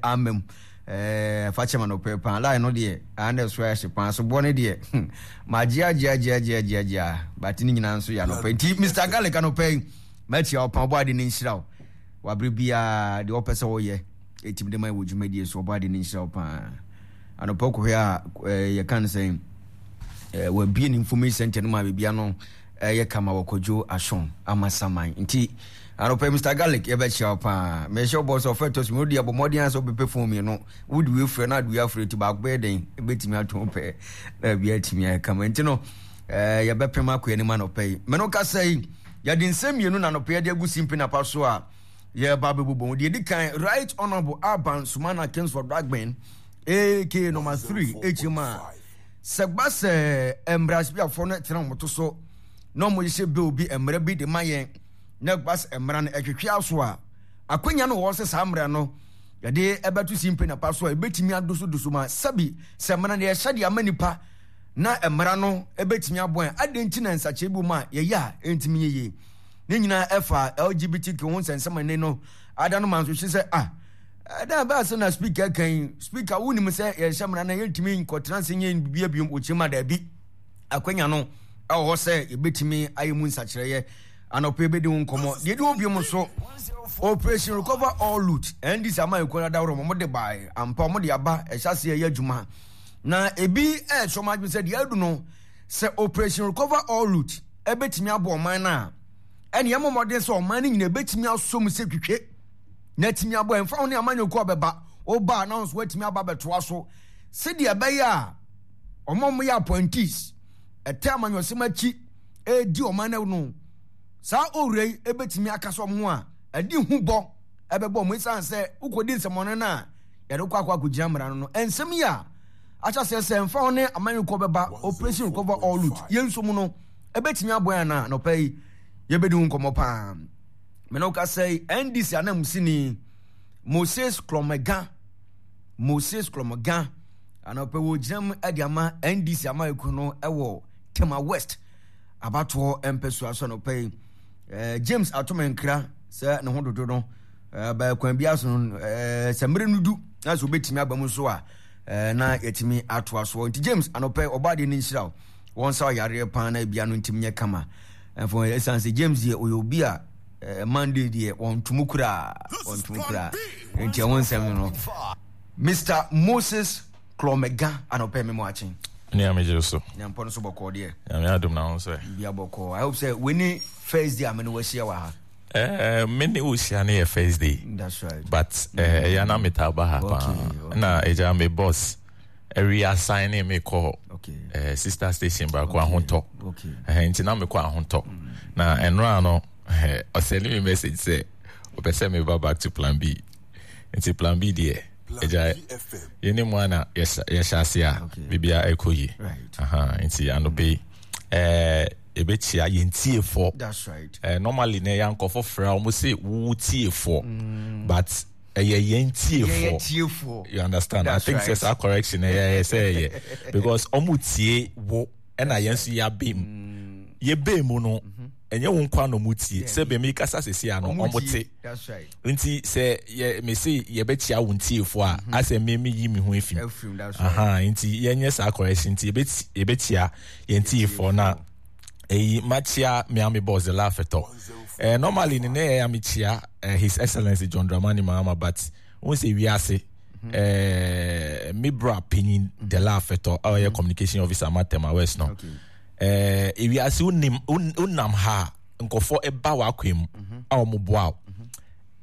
Ama mu. Ɛɛ fa kyɛ ma no pɛ paa. Line no deɛ, ah na ɛso ayɛ hye paa. So bɔ no deɛ, hmm, magye agye agye agye agye agye a, but ne nyinaa nso yɛ anɔpa. Nti Mr. Garlic anɔpa yi, makyia wo paa, ɔbɔ ade ne nhyira wo. Wabere biara deɛ ɔpɛ sɛ ɔyɛ, ɛtumi de ma wɔ dwumadie so, ɔbɔ ade ne nhyira wo paa. Anɔpa kɔhwɛ a, yɛka no sɛn, wabie ne information center no ma biribiara no ɛyɛ kama wɔ Kwadwo Ashong Amasaman nti anɔpa yi Mister Garlic yɛbɛkyia wo paa mehyɛ wo bɔ sɛ ɔfɛ tɔ so mmienu deɛ bɔ mmɔden ara sɛ wobɛpɛ fon mmienu wode wei frɛ na ade wei afrɛ nti baako bɛyɛ dɛn ɛbɛtumi ato wo pɛ na biribi atumi ayɛ kama nti no ɛɛ yɛbɛpem akɔ anim anɔpa yi mene wo kasa yi yɛde nsɛm mmienu na anɔpa yɛde agu simpi napa so a yɛba bɛbobɔ mu deɛ ɛdi kan Right Honorable Alban Sumana Kingsford Dagben AK number 3 HMA Sɛ ɛba sɛ mmarahyɛbadwafoɔ no tena wɔn to so na wɔhyehyɛ bill bi mmara bi de ma yɛn na ɛba sɛ mmara no ɛtwetwe aso a, akwanya no wɔ hɔ sɛ saa mmara no yɛde ɛbɛto simpe na pa so a ɛbɛtumi adosodoso ma sɛbi sɛ mmara no yɛhyɛ de ama nipa na mmara no ɛbɛtumi aboa yɛn. Adɛn nti na nsakyerɛ bi wɔ mu a yɛyɛ a ɛntumi nyɛ yie? Ne nyinaa ɛfa LGBTQ ho nsɛnsɛm ɛne no ada no ma nso sɛ ah Ɛda bɛn ase na speaker ka yi? Speaker, wonim sɛ yɛhyɛ mmara na yɛntumi nkɔtena ase nyɛ biribi biom. Ɔkyerɛ mu a, daabi. Akwanya no ɛwɔ hɔ sɛ yɛbɛtumi ayɛ mu nsakyerɛeɛ. Anɔpa yɛbɛdi ho nkɔmmɔ. Deɛ ɛdi hɔ biom nso, Operation Recover All Loot, NDC ama ɛkuo no adaworo wɔn de bae. Ampa wɔn de aba, ɛhyɛ aseɛ ɛyɛ adwuma. Na ebi ɛrekyerɛ wɔn adwene sɛ deɛ adu no, sɛ Operation Recover All Loot ɛbɛtumi aboa ɔman no a, ɛne ɛmmɔ mmɔden sɛ ɔman no nyinaa ɛbɛtumi asɔ mu sɛ twitwe. na atumi abɔ ɛmfa ho ne amanyɔkuo a bɛba woba a na nso atumi aba bɛtoa so sɛdeɛ ɛbɛyɛ a wɔn a wɔyɛ appointees ɛtɛ amanyɔsɛm akyi ɛredi ɔman no no saa owura yi ɛbɛtumi akasa wɔn ho a ɛde hu bɔ ɛbɛbɔ wɔn ɛsiane sɛ wokɔdi nsɛmɔne no a yɛde kɔ akɔ akɔgyina mmara no no nsɛm yi a ahyɛ aseɛ sɛ ɛmfa ho ne amanyɔkuo bɛba operation recover all loot yɛn nso mu no ɛbɛtumi aboa yɛn anaa nɔpa yi yɛbɛdi ho nkɔmmɔ paa. Me ne wo kasa yi, NDC ananmusini Moses Klomega, Moses Klomega, anɔpɛ wɔgyina mu de ama NDC amayɛkuo no wɔ Tema West abatoɔ mpɛsoa so anɔpɛ yi. Eh, James Atomenkra sɛ ne ho dodo no eh, bɛɛ kwan bi aso no eh, sɛ mmere no du na sɛ obɛtumi aba mu nso a eh, na yɛtumi atoa soɔ. Nti James anɔpɛ ɔbaa deɛ no nhyira wo wɔn nsa ɔyareɛ paa na ebia no ntumi nyɛ kama. Ɛfɔ ɛsan sɛ James deɛ ɔyɛ obi a eh, Monday deɛ wɔntomu koraa wɔntomu koraa nti ɛho nsɛm no Mr Moses Klomega anɔpɛ me mu akyen. Ne ame gye so. Nyampɔ no so bɔkɔɔ deɛ. Nyame adom na ho sɛ. Bia bɔkɔɔ. I hope sɛ wei first day a me ne wahyia wɔ ha. Eh, me ne wo hyia no yɛ first day. That's right. But eh, ɛyɛ na metaa ba ha paa. Na ɛgya me boss. Ɛwi asan ne me kɔ eh, sister station baako okay. Ahotɔ okay. eh, nti na mekɔ ahotɔ mm. Na ɛnora no eh, ɔsɛne me message sɛ ɔpɛ sɛ meba back to plan B nti plan B deɛ ɛgya yɛne mu ana yɛhyɛ ase a biribia ɛkɔ yi nti anɔpɛ yi eh, yɛbɛkyia yɛn tiefoɔ eh, normally na ɛyɛ ankɔfo frɛ a wɔn se wo tiefoɔ mm. But ɛyɛ yɛn tiefoɔ you understand. That's I think sɛ saa correction ɛyɛ ɛyɛ sɛ ɛyɛ because ɔmo tie wo ɛna yɛn nso yɛabɛ mu mm. yɛbɛ mu no mm-hmm. Ɛnyɛ wo nkwa na ɔmo tie sɛ bɛmi kasa sisi ano ɔmo te nti sɛ yɛ mese yɛbɛkyia wo ntiefoɔ a mm-hmm. Asɛ me me yi me ho efim nti yɛnyɛ saa correction nti yɛbɛkyia yɛn tiefoɔ na eyi makyia miami boss the laugh-etɔ eh, normally ne ne yɛ ya mekyia eh, his excellency John Dramani Mahama but wɔn sɛ wiase mhm. eh, me bra panyin the laugh-etɔ a ɔyɛ mhm. Communication officer ma Tema West no eh, ewiase wonim wonam ha nkɔfoɔ ɛba w'akwan mu mhm. A wɔn boa wo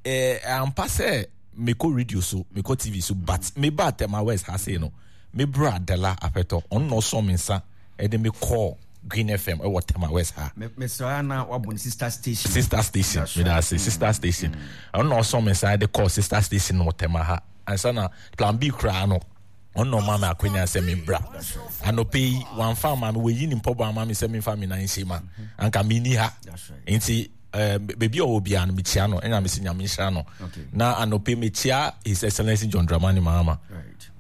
eh, ampa sɛ mekɔ radio so mekɔ TV so but meba Tema West ha sei no me bra Dela Afɛtɔ ɔno na ɔsɔ me nsa ɛde me kɔɔ Green FM ɛwɔ Tema West ha. Mesra na wabɔ ne sister station. Sister station, me da ase sister mm. station. Ɔno na ɔsɔ me nsa ɛde kɔɔ sister station wɔ Tema ha. Ansa na plan B koraa no ɔno na ɔma me akwanya sɛ me bra. Anɔpɛ yi wamfa ama me wɔyi ne mpɔbɔ ama me sɛ memfa me nan nhyɛ mu a anka menni ha. Nti eh, baabi a ɔwɔ biara no mekyia no ɛna mesi nyame nhyira no. Na anɔpɛ mekyia His Excellency John Dramani Mahama.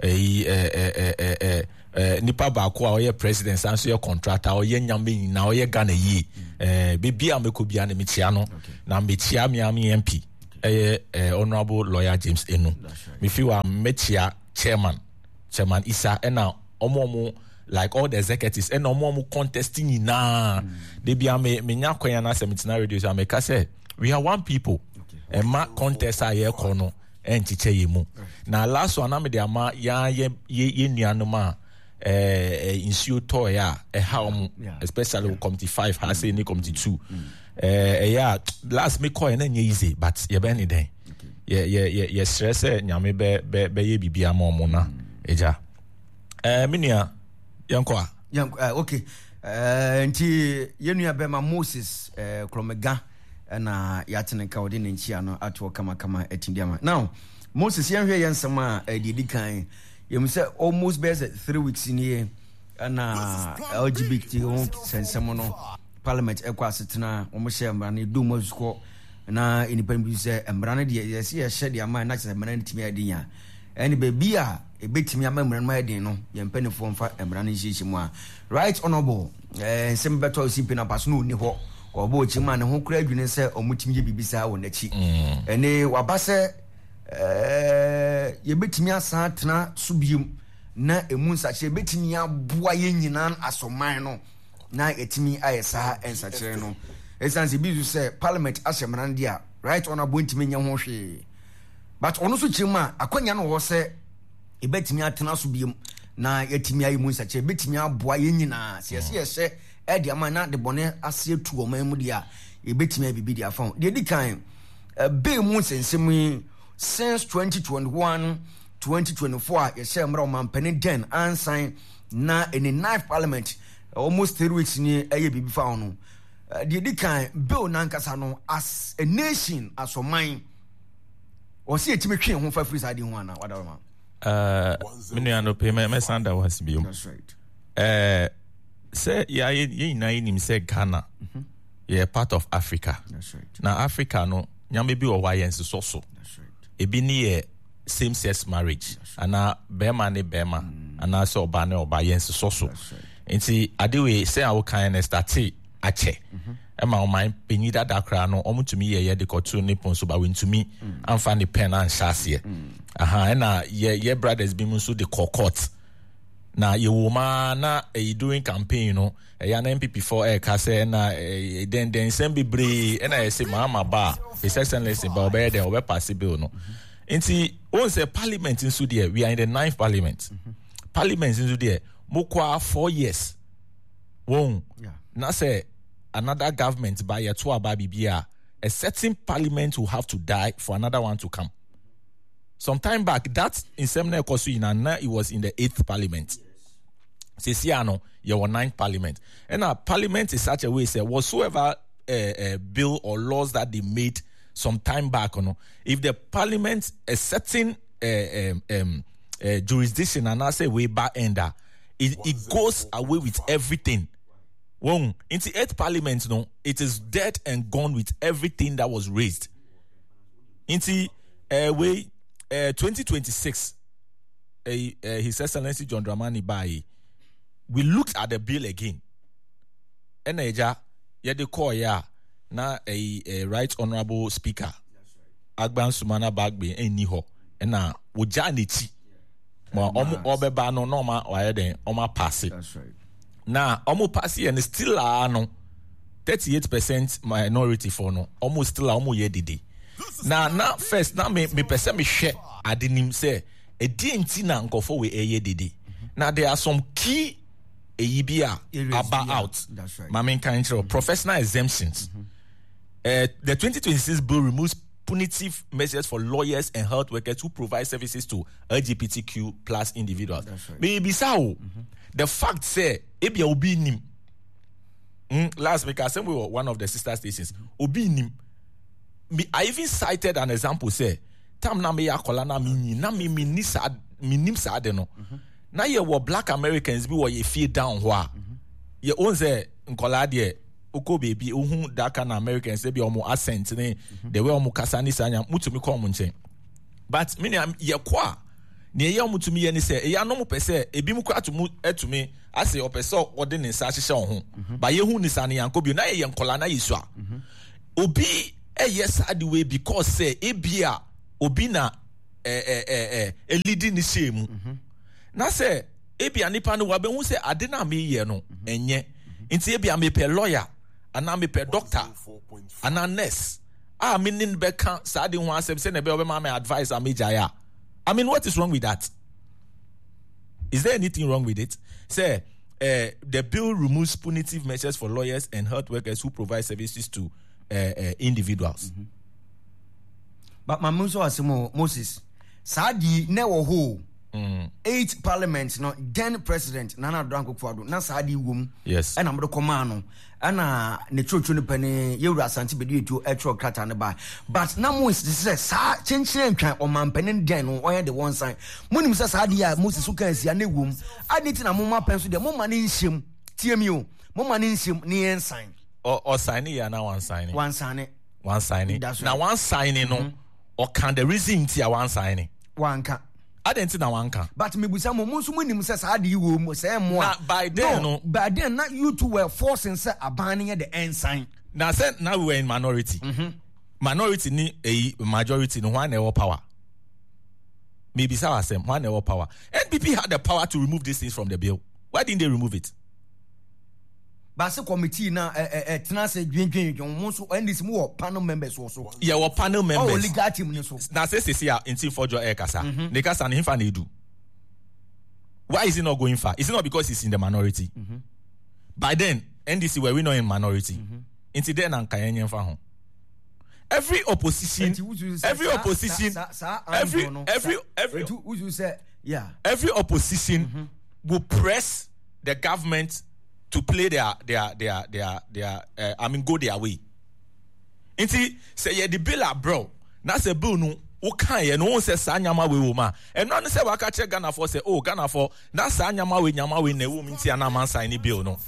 Ɛyi eh, eh, eh, eh, eh, eh, nipa baako a ɔyɛ president san so yɛ contractor ɔyɛ nyame nyinaa ɔyɛ Ghana yie. Eh, baabi a mɛkɔ biara no mekyia no. Na mekyia me ame MP. ɛyɛ Honourable Lawyer James Enu. Mefi hɔ a mɛkyia chairman, Chairman Isa ɛna ɔmo ɔmo like all the executives ɛna ɔmo ɔmo contest nyinaa. Mm. De bia me menya kwan anaasɛ metena radio so a meka sɛ we are one people. Ɛma contest a yɛkɔ no ɛnkyekyɛ yɛ mu. Na last one na mede ama yɛn yɛ yɛ nuanom a ɛɛ nsuo tɔɔɛ a ɛha wɔn especially wɔ committee 5 ha sei ne committee 2. Ɛɛ ɛyɛ a last me kɔɛ na nyɛ easy but yɛbɛn ne dɛn. Yɛ yɛ yɛ yɛsrɛ sɛ Nyame bɛ bɛ bɛyɛ biribi ama wɔn na agya. Ɛɛ me nua yɛnkɔ a. Yɛnkɔ ɛɛ okay ɛɛ nti yɛn nua bɛma Moses ɛɛ Krɔmega ɛna yɛate ne nka ɔde ne nkyia no atoɔ kamakama atumi de ama. Now Moses yɛnhwɛ yɛn nsɛm a ɛdeɛ di kan yɛmu sɛ almost bɛyɛ sɛ 3 weeks nie ɛna LGBT ho sɛnsɛm no parliament ɛkɔ asetena wɔn hyɛ mmara no edu mu asukɔ na nnipa no bi sɛ mmara no deɛ yɛsɛ yɛhyɛ deɛ ama na kyerɛ mmara no tumi ayɛ den a ɛne baabi a ebetumi ama mmara no ayɛ den no yɛn mpanimfoɔ mfa mmara no nhyehyɛ mu a Right Honourable ɛɛ nsɛm bɛtɔ si mpɛ na paso no ɔni hɔ ɔbɔ ɔkyi mu a ne ho kura adwene sɛ ɔmo tumi yɛ biribi saa wɔ n'akyi ɛne waba sɛ ɛɛ yɛbɛtumi asan atena so biem na emu nsakyerɛ bɛtumi aboa yɛn nyinaa asɔman no na yɛtumi ayɛ saa nsakyerɛ no ɛsiane sɛ bi nso sɛ parliament ahyɛ mmara no deɛ a Right Honourable ntumi nyɛ ho hwee but ɔno nso kyerɛ mu a akwanya no wɔ hɔ sɛ yɛbɛtumi atena so biom na yɛatumi ayɛ mu nsakyerɛ bɛtumi aboa yɛn nyinaa sɛ yɛsɛ yɛhyɛ ɛde ama na de bɔne ase atu ɔman mu deɛ a yɛbɛtumi ayɛ biribi de afa ho. Deɛ ɛdi kan, bee mu nsɛnsɛm yi since 2021 2024 a yɛhyɛ mmara ɔmampanin den ansan na ɛne ninth parliament almost 3 weeks ni ɛyɛ biribi fa ho no. Deɛ ɛdi kan, bill nankasa no as a nation, as ɔman, ɔsɛ yɛtumi twe ho fa firi saa de ho ana wadaroma? Me nua no pe mɛsan da wo ase bio. That's right. Sɛ yɛ nyinaa yɛnim sɛ Ghana yɛ part of Africa. That's right. Na Africa no nyame bi wɔ hɔ a yɛnsesɔ so. That's right. Ebi ne yɛ same sex marriage anaa bɛrima ne bɛrima anaasɛ ɔbaa ne ɔbaa yɛnsesɔ so. That's right. Nti ade wei sɛ a wokan no starte akyɛ ɛma ɔman panyin dada koraa no ɔmotumi yɛ yɛde kɔto ne pon so ba wɔntumi amfa ne pen anhyɛ aseɛ. Aha ɛna yɛ brothers bi mu nso de kɔ court na yɛwɔ mu ara na ɛyi during campaign no ɛyɛ na NPP foɔ ɛɛka sɛ ɛna ɛɛ dɛndɛn nsɛm bebree ɛna yɛsɛ Mahama ba a His Excellency ba ɔbɛyɛ dɛn ɔbɛpass bill no. Nti wɔn sɛ parliament nso deɛ we are in the ninth parliament. Parliament nso deɛ mo kɔ a 4 years wɔn na sɛ another government ba yɛto aba biribi a a certain parliament will have to die for another one to come. Some time back that nsɛm na ɛkɔ so nyinaa na it was in the eighth parliament. Sisi ano yɛwɔ ninth parliament ɛna parliament is such a way sɛ whatsoever bill or laws that they made some time back no, if the parliament a certain jurisdiction anaasɛ wei ba end a it goes away with everything. Wɔn nti eighth parliament no, it is dead and gone with everything that was raised. Nti wei 2026 His Excellency John Dramani baayi, we looked at the bill again ɛna ɛgya yɛde kɔɔyɛ a na ɛyi Right Honourable Speaker Agban Sumana Bagbe ɛnni hɔ ɛna wogyaa n'akyi ma ɔmo ɔbɛba no na ɔma wayɛ dɛn ɔmo apass. That's right. Na ɔmo pass yɛ no still a no 38% minority for no ɔmo still a ɔmo yɛ dede na first na me mepɛ sɛ mehwɛ ade nim sɛ ɛdeɛ nti na nkɔfo wei ɛyɛ dede na there are some key eyi bi a areas aba bi a- out. That's right. Maame nka nkyerɛ wo, professional exemptions. The 2026 bill removes punitive measures for lawyers and health workers who provide services to LGBTQ+ individuals. That's right. Mebisa o, the fact sɛ ebia obi nim. Last week I said we were one of the sister stations. Obi nim. Me, I even cited an example sɛ time na me yɛ akɔla na me nyi na me ni saa me nim saa de no. Na yɛ wɔ black Americans bi wɔ yɛ fie down hɔ a yɛ ohun sɛ nkɔlaa deɛ okɔ beebi ohun that kind of Americans ebi ɔmo accent ne the way ɔmo kasa ne saa nya mutumi kɔ ɔmo nkyɛn, but me nua yɛ kɔ a nea ɛyɛ ɔmo tumi yɛ ne sɛ ɛyɛ anɔ mo pɛ sɛ ebi mu kora tumi ɛtumi ase ɔpɛ sɛ ɔde ne nsa ahyehyɛ ɔho ba yɛhu ne saa ne yankɔ bio na yɛyɛ nkɔlaa na yɛ sua obi. ɛyɛ saa de wei because sɛ ebia obi na ɛ ɛ ɛ elidi ne hyɛ mu na sɛ ebia nipa no wabɛhu sɛ ade na meyɛ no ɛnyɛ, nti ebia mepɛ lawyer anaa mepɛ doctor anaa nurse a me ne no bɛka saa de ho asɛm sɛ na ɛbɛyɛ ɔbɛma me advice a megyae a, I mean, what is wrong with that? Is there anything wrong with it? Sɛ the bill removes punitive measures for lawyers and health workers who provide services to individuals. But maame nso asɛm o, Moses, saa di na ɛwɔ hɔ o. Eight parliament no, then President Nana Addo Dankwa Akufo-Addo, na saa de wɔ mu. Ɛna mode kɔmaa no, ɛna ne kyerɛkyerɛ no pɛne yɛwura Asante Bediatuo ɛtwerɛ krataa no baa, but na mo nsisi sɛ saa kyenkyene ntwan ɔmampanin dɛn no ɔyɛ de wɔn san. Monim sɛ saa deɛ a Moses so kan asia na ɛwɔ mu ade nti na moma pɛn so deɛ moma ne nhyɛm tie mi o, moma ne nhyɛm ne yɛn san. Ɔsan ne yɛ anaa wansan ne? Wansan ne. Wansan ne na wansan ne no, ɔka the reason nti a wansan ne. Wanka. Adɛn nti na wanka? But mebusa mo, mo nso monim sɛ saa ade yi wɔ mu, sɛ ɛmmoa. Na by then no, by then na you two were forcing sɛ aban no yɛ de ɛnsan. Na sɛ na we were in minority. Minority ni eyi majority no, hwan na ɛwɔ power? Mebisa asɛm, hwan na ɛwɔ power? NPP had the power to remove these things from the bill. Why didn't they remove it? Baase committee na ɛ ɛ tena ase dwendwen dwen mo nso NDC mo wɔ panel members wɔ so. Yɛwɔ panel members. Ɔwɔ legal team ni so. Na sɛ sisi a nti fɔjɔ ɛkasa. Ne kasa ne nfa na edu. Why is it not going far? Is it not because it's in the minority? By then, NDC were we not in minority? Nti then na nka yɛn nyɛ nfa ho. Every opposition, every opposition, every every every every opposition will press the government to play their I mean, go their way. Nti sɛ yɛde bill abrɛw na sɛ bill no woka yɛ no wɔn sɛ saa nyama wei wɔ mu a, ɛno ano sɛ waka kyerɛ Ghanafoɔ sɛ, oh, Ghanafoɔ, na saa nyama wei, nyama wei na ɛwɔ mu, nti ana amansan ne bill no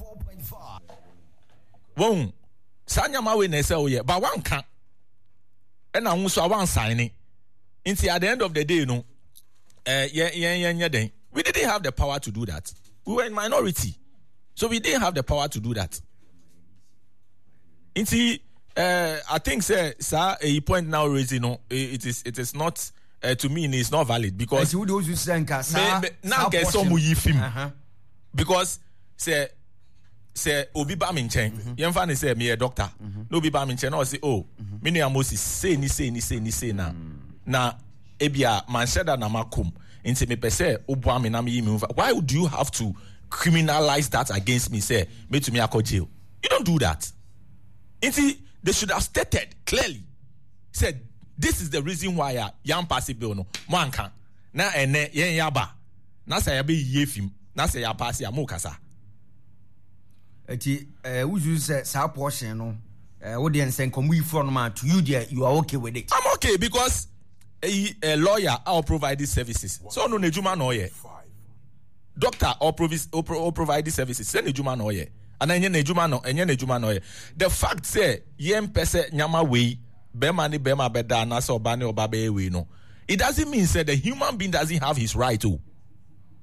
wɔn saa nyama wei na ɛsɛ woyɛ ba wanka, ɛna ho nso a wansan ne. Nti at the end of the day no, yɛn yɛn nyɛ den. We didn't have the power to do that. We were in minority, so we didn't have the power to do that. Nti I think sɛ saa eyi point now raising no, it is not, to me it's not valid because Ɛnti wo de osu sɛ nka saa me na nka ɛsɛ ɔmo yi fim because sɛ obi ba mi nkyɛn, yɛmfa ne sɛ meyɛ doctor na obi ba mi nkyɛn na ɔse, "Oh, me nua Moses, sei ni sei ni sei ni sei na ebia manhyɛ da na makom, nti mepɛ sɛ woboa me na meyi me ho fa," why do you have to criminalize that against me sɛ metumi akɔ jail? You don't do that. Nti they should have stated clearly said this is the reason why a yan pass bill no. Mo anka na ɛnɛ yɛn yaba na sɛ yɛbɛyiye fim na sɛ yɛa pass a, mo kasa. Eti wusu sɛ saa portion no, wo deɛ nsɛ nkɔmɔ yi fura no ma to you deɛ, you are okay with it? I'm okay because eyi a lawyer a ɔ provide services so ɔno n'edwuma na ɔyɛ, doctor ɔ provide services sɛ n'edwuma na ɔyɛ ana ɛnyɛ n'edwuma no, ɛnyɛ n'edwuma na ɔyɛ. The fact sɛ yɛn mpɛ sɛ nyama wei bɛrima ne bɛrima bɛda anaasɛ ɔba ne ɔba bɛyɛ wei no, it doesn't mean say the human being doesn't have his right o.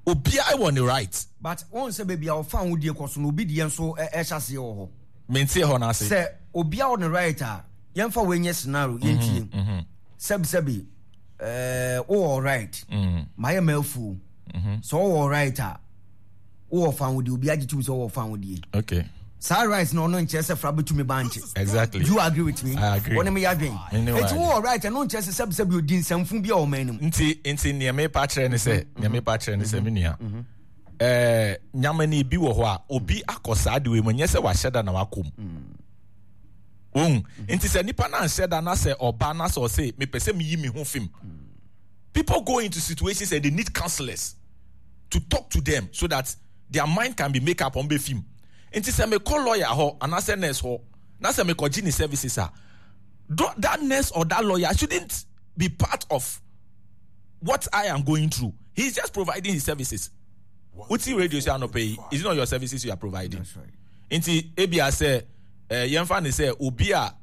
Obiara wɔ ne right. But wɔn sɛ baabi a ɔfa ahodie kɔ so no, obi deɛ nso ɛhyɛ aseɛ wɔ hɔ. Mente hɔ n'ase. Sɛ obiara wɔ ne right a, yɛmfa wei nyɛ scenario, yɛntie. Sɛbisɛbi, wowɔ right mayɛ ma afuo sɛ wowɔ right a, wowɔ fa ahodie, obi agye tum sɛ wowɔ fa ahodie. Saa right na ɔno nkyerɛ sɛ fra bɛtumi ba nkye. Exactly. Do you agree with me? I agree. Wɔne me yɛ adwen. Me ne wo eti adwen. Wowɔ right, ɛno nkyerɛ sɛ sɛbisɛbi odi nsɛmfo bi a ɔman no mu. Nti nea mepa kyerɛ ne sɛ, me nua, nyama ni bi wɔ hɔ a obi akɔ saa de wei mu, nyɛ sɛ wahyɛ da na wakɔ mu ohun. Nti sɛ nipa na nhyɛ da na sɛ ɔba na sɛ ɔse mepɛ sɛ meyi me ho fim, people go into situations and they need counselors to talk to them so that their mind can be make up on bɛ fim. Nti sɛ mekɔ lawyer hɔ anaasɛ nurse hɔ na sɛ mekɔgye ne services a, that nurse or that lawyer shouldn't be part of what I am going through. He's just providing his services. Wuti radio sɛ anɔpɛ yi, is it not your services you are providing? That's right. Nti ebia sɛ yɛmfa ne sɛ obi a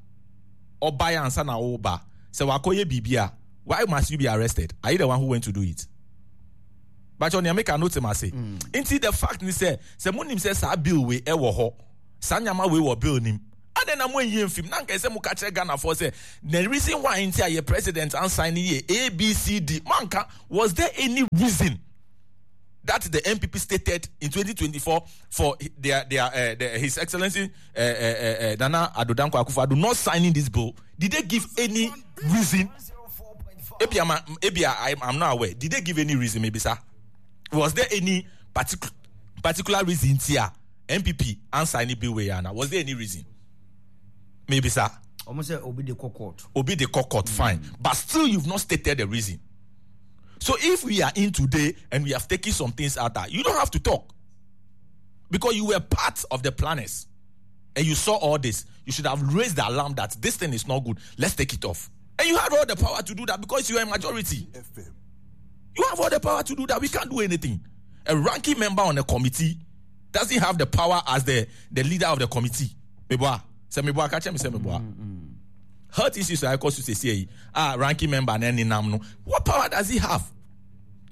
ɔba yɛ ansa na ɔba sɛ wakɔyɛ biribi a, why must you be arrested? Are you the one who went to do it? But nea meka no te ma se. Nti the fact ni sɛ monim sɛ saa bill wei ɛwɔ hɔ, saa nyama wei wɔ bill nim. Adɛn na moanyi amfim? Na anka ɛsɛ moka kyerɛ Ghanafoɔ sɛ the reason why nti a yɛ president ansign no yɛ A, B, C, D. Moanka. Was there any reason that the NPP stated in 2024 for their His Excellency Nana Addo Dankwa Akufo-Addo not signing this bill? Did they give any reason? Ebia, ebia I'm not aware. Did they give any reason? Maybe sir. Was there any particular reason here? NPP ansign bill wei ana? Was there any reason? Maybe sir. Ɔmo sɛ obi de kɔ court. Obi de kɔ court, fine. But still you've not stated the reason. So if we are in today and we have taken some things out, you don't have to talk. Because you were part of the planners. And you saw all this. You should have raised the alarm that this thing is not good. Let's take it off. And you had all the power to do that because you are a majority. You have all the power to do that. We can't do anything. A ranking member on a committee doesn't have the power as the leader of the committee. Meboa. Say meboa, catch me, say meboa. Health issues I cause to say, ranking member no. What power does he have?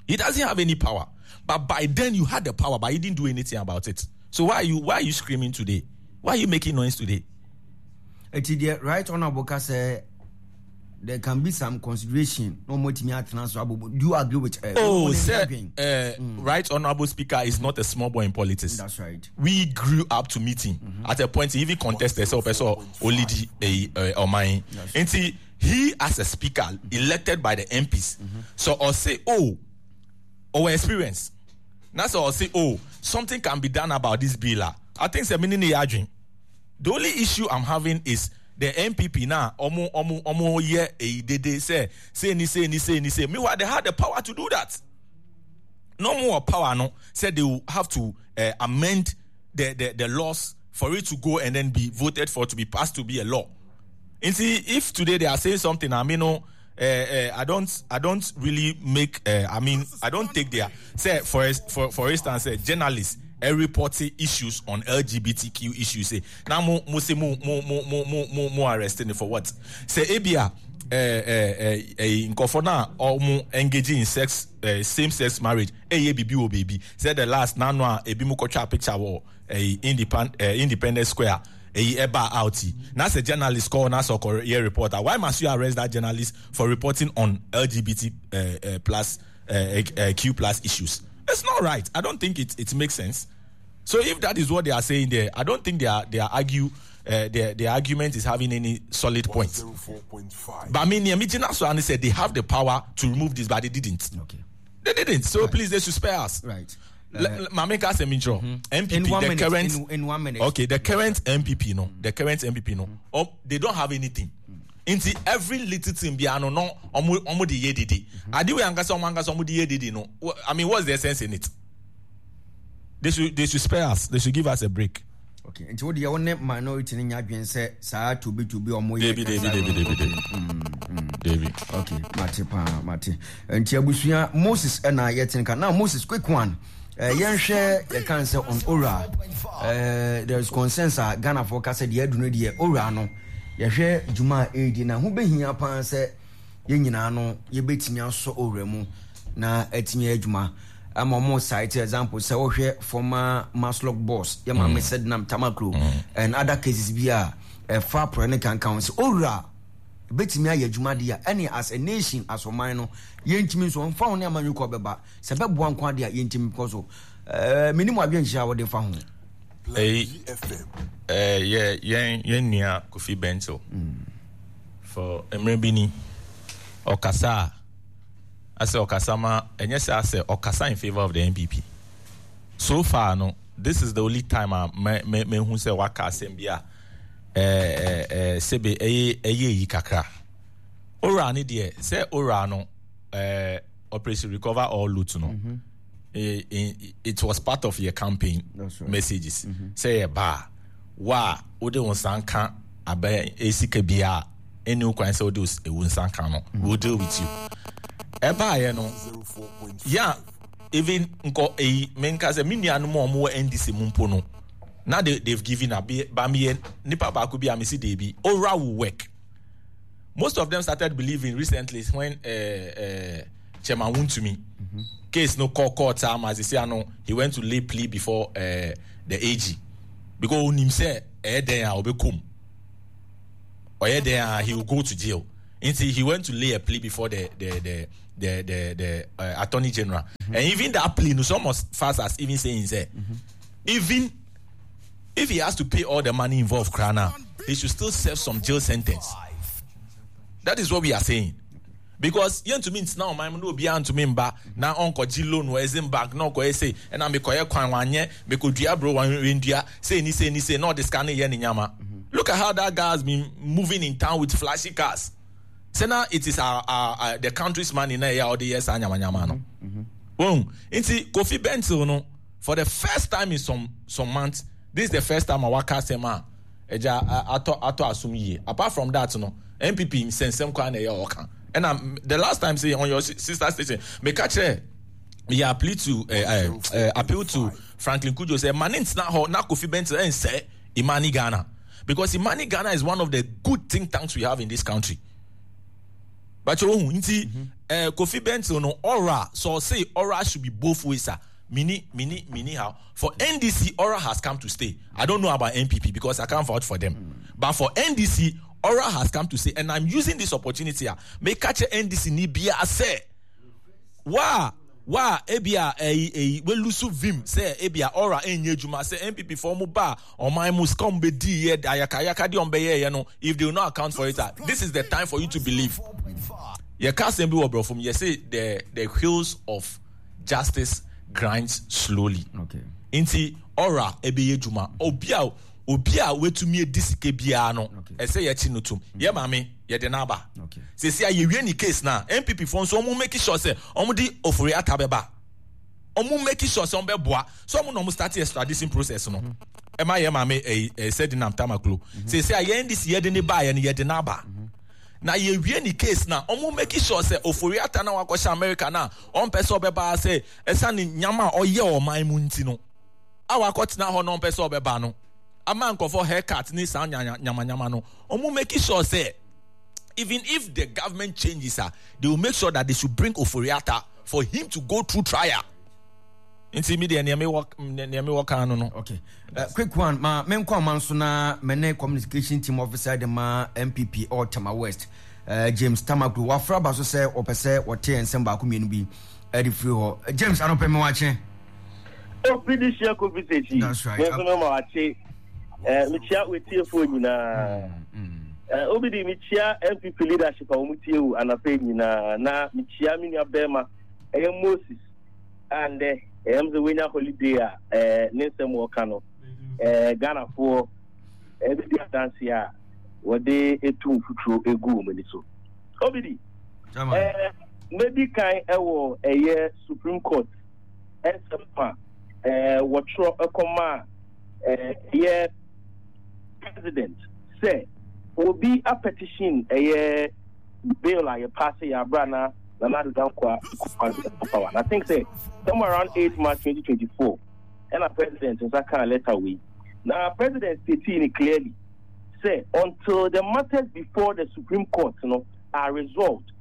He doesn't have any power. But by then you had the power, but you didn't do anything about it. So why are you screaming today? Why are you making noise today? Eti right honorable say there can be some consideration. No more Do you agree with? Right honorable speaker is not a small boy in politics. That's right. We grew up to meet him. At a point, he even contested so person Olidi Omain. And see, he as a speaker elected by the MPs. So or say, oh, our experience. That's all say, oh, something can be done about this bill. I think the only issue I'm having is the NPP now, omo yeah, they say ni say. Meanwhile, they had the power to do that. No more power, no. Said they will have to amend the laws for it to go and then be voted for to be passed to be a law. And see, if today they are saying something, I mean, no, I don't really make. I mean, I don't take their say for instance, journalists reporting issues on LGBTQ issues. Say now mo mo say mo mo mo mo mo mo arresting for what? Say ebia nkofo na mo engaging in sex same sex marriage. Eye bibi o baby. Say the last now no ebi mo kotwa picture wo Independence Square. Eba out. Now a journalist call now so reporter. Why must you arrest that journalist for reporting on LGBT plus Q plus issues? It's not right. I don't think it makes sense. So if that is what they are saying there, I don't think their argument is having any solid point. 4.5. But I mean, and said they have the power to remove this, but they didn't. Okay. They didn't. So right. Please, they should spare us. Right. MPP, in 1 the minute, current in 1 minute. Okay, the current MPP no, the current MPP no. Oh, they don't have anything. Into every little thing be ano no omo di ye didi. Adi we ankasa omo ankasa omo di ye didi no. I mean, what's the essence in it? They should spare us. They should give us a break. Okay. Nti wo de wo ne minority ni nya dwen se saa to be omo ye. David. David. Okay, mate pa mate. Nti abusua Moses na yetin ka. Now Moses, quick one. Yenhwe ye kan se on ora. There is consensus Ghana for ka se de adunu de ora no. Yehwe dwuma edi na ho behia pan se ye nyina no ye betimi aso ora mu na etimi adwuma. Ama mo cite example se wo hwe former Masloc boss ye ma Sednam Tamaklo and other cases bi a fa pro ne kan kan se ora betimi aye adwuma de a any as a nation as oman no ye ntimi so mfa ho ne amanyu ko beba se beboa nko ade a ye ntimi ko so minimu adwenhia wo de fa ho ye nua Kofi Bentil for emrebini okasa ase okasa ma enye se ase okasa in favor of the NPP. So far no, this is the only time I me hu se waka asem bia sebe eye yi kakra. Ora ni de se ora no operation recover all loot no. It was part of your campaign. That's right. Messages. Say ba wa ode wonsan kan abe esika bia eni okwan say ode wonsan kan no, we'll deal with you. Eba ye no, yeah, even nko eyi menka say me nuanu mo mo NDC mumpo no. Now they've given up ba me nipa ba ko bi amisi dey bi ora will work. Most of them started believing recently when Chairman Wontumi case no call court time as they say no, he went to lay plea before the AG because onim say den a obekum. Ɔyɛ dɛn a he will go to jail. Nti he went to lay a plea before the the the the the, the uh, attorney general. Mm-hmm. And even that plea no so almost fast as even saying say mm-hmm. even if he has to pay all the money involved, Krana, he should still serve some jail sentence. That is what we are saying. Because yɛntumi ntena ɔman mu na obiara ntumi mba na ɔnkɔgye loan wɔ Exim Bank na ɔkɔyɛ sei ɛna mekɔyɛ kwan wanyɛ mekɔdua aburo wandua sei ni sei ni sei na ɔde sika no yɛ ne nyama. Look at how that guy has been moving in town with flashy cars. Sɛ na it is our, our, our the country's money na ɛyɛ a ɔde yɛ saa nyamanyama no. Wɔn nti Kofi Bentil no for the first time in some some months this is the first time a waka asɛm a Agya atɔ atɔ asom yie. Apart from that no, NPP nsɛnsɛm koraa na ɛyɛ ɔka. Ɛna the last time say on your sister station, meka kyerɛ meyɛ appeal to uh, uh, uh, appeal to Franklin Cudjoe sɛ ma ne ntena hɔ na Kofi Bentil ɛnsɛ Imani Ghana because Imani Ghana is one of the good think tanks we have in this country. But you nti uh, Kofi Bentil no aura so say aura should be both ways ah. Mini mini mini how For NDC, Aura has come to stay. I don't know about NPP because I can't vouch for them. Mm. But for NDC, Aura has come to stay. And I'm using this opportunity. Ah, make catch NDC ni bia say. Wa wa ebia eyi eyi we lusu vim sɛ ebia aura enye adwuma sɛ NPP fo mo ba ɔman mu sika ɔmo bɛ di yɛ ayaka ayaka de ɔmo bɛyɛ yɛ no if they will not account for it ah this is the time for you to believe yɛ ka asɛm bi wɔ borɔfo mu yɛ say the the wheels of justice grinds slowly. Okay. Nti ɔra ɛbɛyɛ adwuma. Obi a obi a watumi adi sika biara no ɛsɛ yɛkye no tom. Yɛ maame yɛde no aba. Sɛsi a yɛwie ne case na NPP foɔ nso wɔn make sure sɛ wɔn de Ofori Atta bɛba. Wɔn make sure sɛ wɔn bɛboa so wɔn na wɔn start extradition process no. Ɛma yɛ maame ɛyi ɛɛ Sedinam Tamaklo. Sɛsi a yɛn de si yɛde ne ba yɛ no yɛde no aba. Na yɛwie ne case na ɔmo make sure sɛ Ofori Atta na wakɔhyɛ America na ɔmpɛ sɛ ɔbɛba ha sɛ ɛsiane nyama a ɔyɛ wɔ ɔman mu nti no a wakɔtena hɔ na ɔmpɛ sɛ ɔbɛba no ama nkurɔfoɔ haircut ne saa nyamanyama no ɔmo make sure sɛ even if the government changes a they will make sure that they should bring Ofori Atta for him to go through trial. Nti mi deɛ nea mewɔ nea mewɔ kan no no. Okay. Uh, quick one ma menkɔ ama nso na me ne communication team officer de ma MPP or Tema West uh, James Tamaklo wafra ba so sɛ wɔpɛ sɛ wɔte nsɛm baako mmienu bi ɛde firi hɔ. James anɔpɛ me wakye. Obi de hyia kofi sɛkyi. That's right. Me nso me ma wakye. Eh, mekyia wetiefoɔ nyinaa. Eh, obi de mekyia MPP leadership a wɔn tie wo anapɛ nyinaa na mekyia me nua bɛrima ɛyɛ Moses. a ndɛ ɛyɛ sɛ wenya holiday a ɛɛ ne nsɛm wɔka no ɛɛ Ghanafoɔ ɛbɛdi adanse a wɔde etu mfuturo egu wɔn ani so. Obidi ɛɛ mɛdi kan ɛwɔ ɛyɛ Supreme Court ɛnsɛm a ɛɛ wɔtwerɛ ɛkɔma ɛɛ ɛyɛ president sɛ obi apetition ɛyɛ bill a yɛpaase yɛ abira na Nana Addo Dankwa Akufo-Addo power. And I think say somewhere around 8 March 2024, and president nsa kaa letter wei. Now president stated it clearly say until the matters before the Supreme Court no are resolved,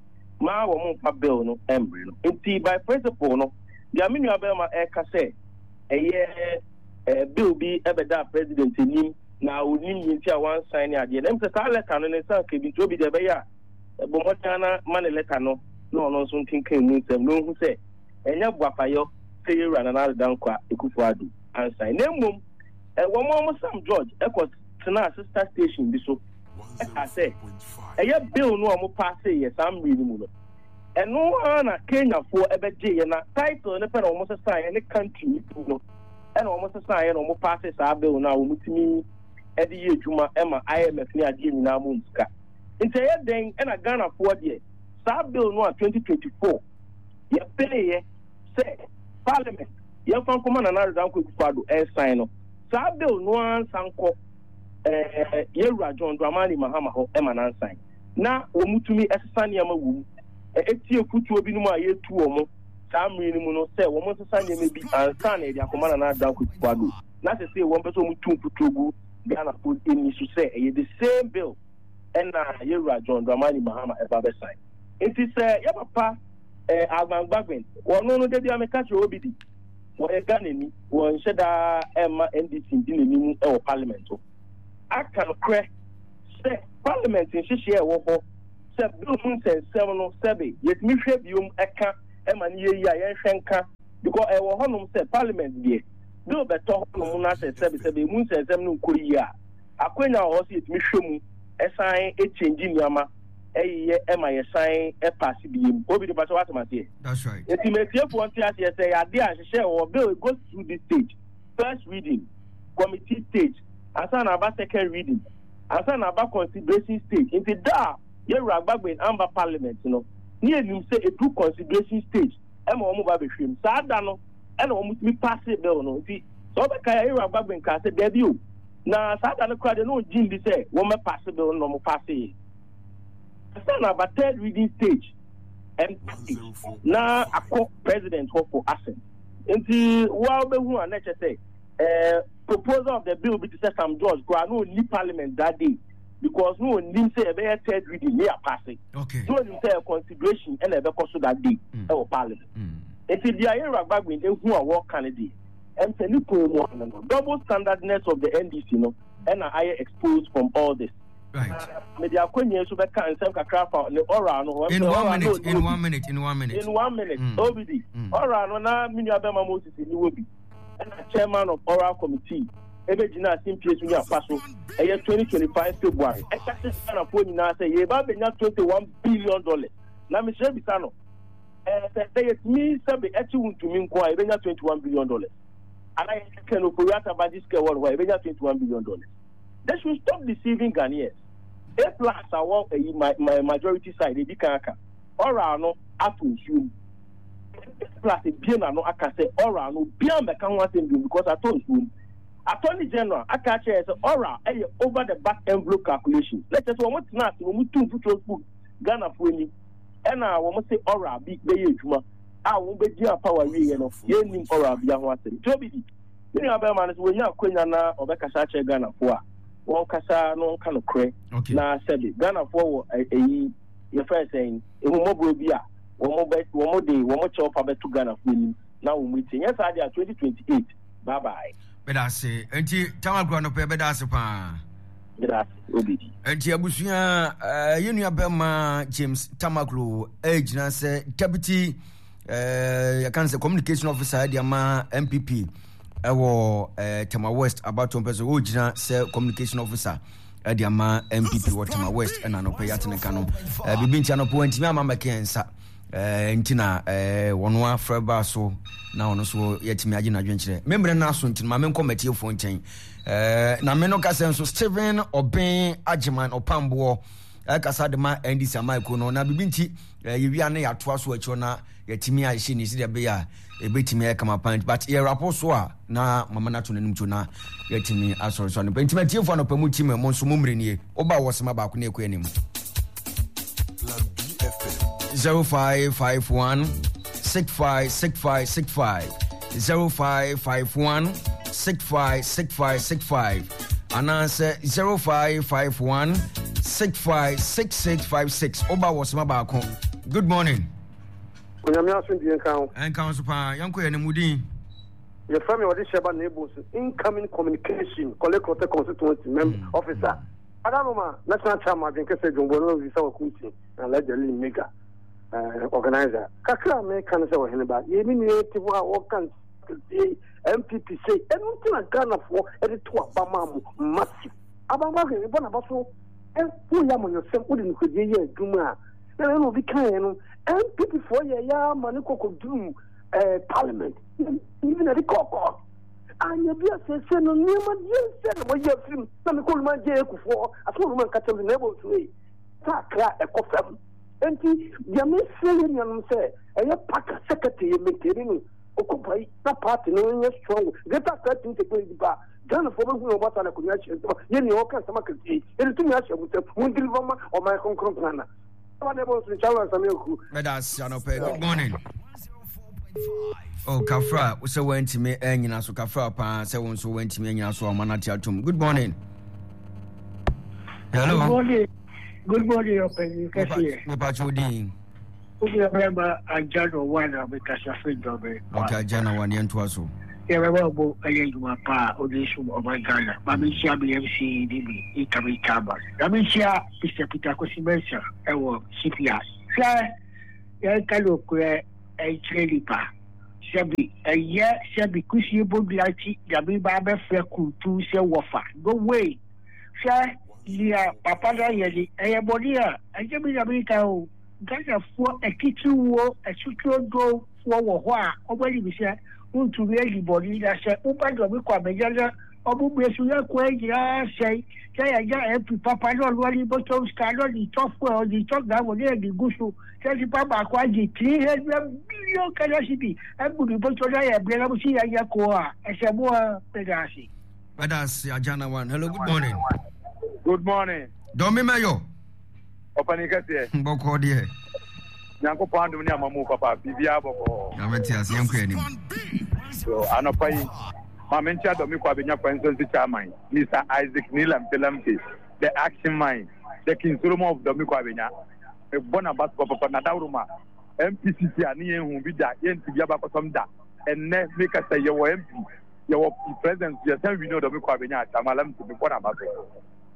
ma wɔn mfa bill no mbrɛ no. Nti by principle no, deɛ me nua bɛrima ɛka sɛ ɛyɛ ɛɛ bill bi ɛbɛda president anim na onim ne nti a wansan ne adeɛ. Na ɛmu sɛ saa letter no ne nsa nka bi nti obi deɛ ɛbɛyɛ a Bɔ mmɔden ara ma ne lɛta no na ɔno nso nkenkan mu nsɛm na onhu sɛ ɛnyɛ boapayɔ sɛ yɛn Wura Nana Addo Dankwa Akufo-Addo ansan na mmom wɔn a wɔsam George kɔ tenaa sister station bi so kaa sɛ ɛyɛ bill no a wɔpaaseeɛ saa mmere no mu no ɛno ara na Kenyafoɔ bɛgyeeɛ na title no pɛ na wɔsesaeɛ ne country no din no ɛna wɔsesaeɛ na wɔpaase saa bill no a wɔtumi de yɛ adwuma ma IMF ne adeɛ nyinaa mu sika. Nti ɛyɛ dɛn na Ghanafoɔ deɛ saa bill no a 2024 yɛpeneeɛ sɛ parliament yɛmfa nkɔma Nana Addo Dankwa Akufo-Addo nsan no, saa bill no ara nsa nkɔ eh, yɛwura John Dramani Mahama hɔ ma nansan na wɔn tumi sesa nneɛma wɔ mu, ɛtie afutuo binom a yɛtu wɔn saa mmere no mu no sɛ wɔn nsesa nneɛma bi ansa na yɛde akɔma Nana Addo Dankwa Akufo-Addo na sesei wɔn pɛ sɛ wɔn tu mfuturo gu Ghanafoɔ ani so sɛ ɛyɛ the same bill ɛna yɛwura John Dramani Mahama ɛba bɛsan. Nti sɛ yɛ papa eh, Alban Bagbin, wɔno no da bi a meka kyerɛ obi di, wɔyɛ Ghanani, wɔnhyɛ daa ɛmma NDC ndi n'anim wɔ parliament hɔ. Aka nokorɛ Sɛ parliament nhyehyɛɛ ɛwɔ hɔ sɛ bill mu nsɛnsɛm no, sɛbe yɛtumi hwɛ biom ɛka ɛma no yɛ yie a, yɛnhwɛ nka, because ɛwɔ hɔnom sɛ parliament deɛ, bill bɛtɔ hɔnom na sɛ sɛbe sɛbe emu nsɛnsɛm no nkɔ yie a, akwanya wɔ hɔ sɛ yɛtumi hwɛ mu ɛsan ɛchange nneɛma ɛyeyɛ ɛma yɛsan ɛpaase biem. Obi de mpakyɛ w'asɛm aseɛ. That's right. Nti matiefoɔ nte aseɛ sɛ ɛyɛ adeɛ a nhyehyɛɛ wɔ hɔ, bill it goes through this stage, first reading, committee stage, ansa na aba second reading, ansa na aba consideration stage. Nti da a Yɛwura Bagbin amba parliament no, ne yɛnim sɛ ɛduru consideration stage ɛma wɔn ba bɛhwɛ mu. Saa da no ɛna wɔn tumi passe bill no. Nti sɛ wobɛkae a, Yɛwura Bagbin kaa sɛ daabi o, na saa da no koraa deɛ na ɔngye ndi sɛ wɔn bɛ passe bill no na wɔn passe yɛ. Ansa na aba third reading stage and passage na akɔ president hɔ for assent. Nti wo a wobɛhu a na ɛkyɛ sɛ eh, proposal of the bill bi te sɛ Sam George koraa na ɔnni parliament that day because na ɔnnim sɛ yɛbɛyɛ third reading ne yɛapase. Na ɔnim sɛ consideration ɛna ɛbɛkɔ so that day ɛwɔ parliament. Nti deɛ Ayerwa Bagbin ehu a wɔka no deɛ, ɛm sɛ ne kɔn mu ano no, double standardness of the NDC no ɛna ayɛ exposed from all this. Right. Mede akɔnyɛ nso bɛka nsɛm kakra fa ne oral no ho. In one minute, in one minute, in one minute. In one minute, OBD. Oral no na me nua bɛma Moses ni wɔ bi. Ɛna chairman of oral committee ɛbɛgyina simpie so ne afa so ɛyɛ 2025 February. Ɛka kyerɛ Ghanafoɔ nyinaa sɛ yɛba bɛnya $21 billion. Na mesrɛ bisa no, ɛɛ sɛ yɛtumi sɛbe ɛkye wo ntumi nko a, yɛbɛnya $21 billion? Ana yɛkɛ no Ofori-Atta bagye sika ɛwɔ no hɔ a, yɛbɛnya $21 billion? They should stop deceiving Ghanaians. A Plus a wɔ ɛyi my majority side ebi kan aka oral no ato nsuo mu. A Plus ebie n'ano aka sɛ oral no obiara mbɛka ho asɛm bio because ato nsuo mu. Attorney General aka akyerɛ sɛ oral ɛyɛ over the back envelope calculation. Na kyerɛ sɛ wɔn tena ase, wɔn tu mfuturo gu Ghanafoɔ anim, ɛna wɔn se oral bi bɛyɛ adwuma a wɔn bɛgyina power wieɛ no, yɛnnim oral bi ho asɛm. Nti obi di me nua bɛrima no sɛ wɔnya akwanya na ɔbɛkasa akyerɛ Ghanafoɔ a, wɔnkasa na wɔnka nokorɛ. Na sɛbe Ghanafoɔ wɔ ɛyi yɛfrɛ sɛn, ehummɔborɔ bi a wɔn bɛ wɔn de wɔn kyɛw pa bɛto Ghanafoɔ anim na wɔn ti nyɛ saa deɛ a, 2028, bye bye. Bɛda ase. Nti Tamakura no pɛ, bɛda ase paa. Bɛda ase, Obidi. Nti abusua, yɛn nua bɛrima James Tamaklo ɛgyina sɛ deputy yɛka no sɛ communication officer de ama NPP ɛwɔ Tema West abatoɔ mpɛ so. Ɔgyina sɛ communication officer ɛde ama NPP wɔ Tema West, ɛna anɔpɛ yɛate ne ka no. Biribi nti anɔpɛ wantumi ama mmɛka yɛn nsa, nti na wɔn afrɛ baa so na ɔno nso yɛatumi agye n'adwenkyerɛ. Memmerɛ no aso nti no, ma menkɔ matiefoɔ nkyɛn. Na me no kasɛ nso Stephen Ɔben Agyeman Ɔpamboɔ ɛkasa de ma NDC amaiko no, na biribi nti yɛwia ne yɛatoa so akyirɛ na yɛtumi ahyɛ ne sɛdeɛ ɛbɛyɛ a ɛbɛtumi ayɛ kama pan, but yɛrapo so a na mama no ato n'anim to na yɛtumi asɔre so anɔpɛ. Nti matiefoɔ, anɔpɛ mu tim mo nso mo mmerɛ nie. Woba wɔ sema baako ne ɛkɔ anim, 0551 656565, 0551 656565 anaasɛ 0551 656656. Woba wɔ sema baako. Good morning. Onyame asomdwie nka ho. Ɛnka ho so paa. Yɛnkɔ yɛn mu din. Yɛfrɛ me ɔde hyɛba na ebo so incoming communication Korle Klottey constituency mem officer. Adaroma national chairman adwenkɛsɛ dwombo no visa wakunti na Alhaji Ali mega organizer. Kakra a meka no sɛ ɔhene ba yɛ me nua te hɔ a wɔka ntie NPP sei, ɛno nti na Ghanafoɔ ɛde to aba maa mo massive. Abankwa hwɛ bɔ n'aba so, woyɛ amanyɔsɛm, wode nokorɛdie yɛ adwuma a na ɛna obi kaeɛ no, NPP foɔ yɛ yɛ ama ne kɔkɔduru parliament, even ɛde kɔɔ court anya bi asese no nneɛma deɛ sɛ na wɔyɛ afiri mu na mekɔ Luma gye ekufoɔ asɛm Luma nka kyɛm na ɛbɔ nsuo yi sakra ɛkɔ fam. Nti deɛ mesrɛ yɛ nuanom sɛ ɛyɛ paka secretary yɛ maintain no ɔkɔ yi na party no nyɛ strong. Greater Accra team sɛ ba Ghanafoɔ bɛhu na ɔbata na akonnwa ahyɛ nsɛm yɛ nea ɔka nsɛm akɛseɛ yɛde tumi ahyɛ mo nsɛm mo deliver ma ɔman kronkron Ghana. Mɛda ase anɔpɛ. Good morning. Oh, Kafra, sɛ woantumi anyina so, Kafra paa, sɛ wo nso woantumi anyina so a, ɔma no ate atom. Good morning. Hello. Good morning. Good morning, ɔpanyin kɛseɛ. Mepa kyɛw, din? Wo nua bɛrima Agya no wa na mekasa firi Dɔme. Okay, Agya na wa ne yɛntoa so. Yɛbɛbɔ bo ɛyɛ adwuma pa a wode som ɔman Ghana. Ma menhyia me MC ne me incoming chairman. Na menhyia Mr. Peter Kwesi Mensah ɛwɔ CPI. Hwɛ, yɛnka nokorɛ nkyerɛ nipa. Sɛbi ɛyɛ sɛbi kusie bodua nti na meba abɛfrɛ kuntu sɛ wɔfa. No way! Hwɛ, nea papa no ayɛ ni, ɛyɛ bɔne a, ɛnyɛ me na meka o. Ghanafoɔ atitiriwuo asutuodwofoɔ wɔ hɔ a wɔn anim sɛ wontumi adi bɔne na sɛ woba dɔme kɔ abɛnya na wɔn mmerɛ so yɛ kwan nyinaa sɛe na yɛnya MP papa na ɔno ɔde bɔtɔm sika na ɔde tɔ fuel ɔde tɔ gravɔ na yɛde gu so na nipa baako agye 300 million Ghana cedi agu ne bɔtɔ na yɛbrɛ na mo si yɛnyɛ ko a ɛsɛ mo a meda ase. Meda ase Ajana one. Hello, good morning. Good morning. Dɔmi Mayor. Ɔpanin kɛseɛ. Bɔkɔɔ deɛ. Nyankopɔn adom ne amamu papa biribiara bɔkɔɔ. Nyame te ase yɛnkɔ anim. So anɔpa yi ma menkyia dɔme kɔ abɛnya kwanso chairman Mr. Isaac Nilamte Lamte the action man the King Solomon of dɔme kɔ abɛnya mebɔ n'aba so papapa na dawuroma MPCC a ne yɛn hu bi da yɛn ti bi abakɔsɔm da ɛnnɛ meka sɛ yɛwɔ MP yɛwɔ president yɛsan wi ne ɔdɔme kɔ abɛnya akyama Lamte mebɔ n'aba so.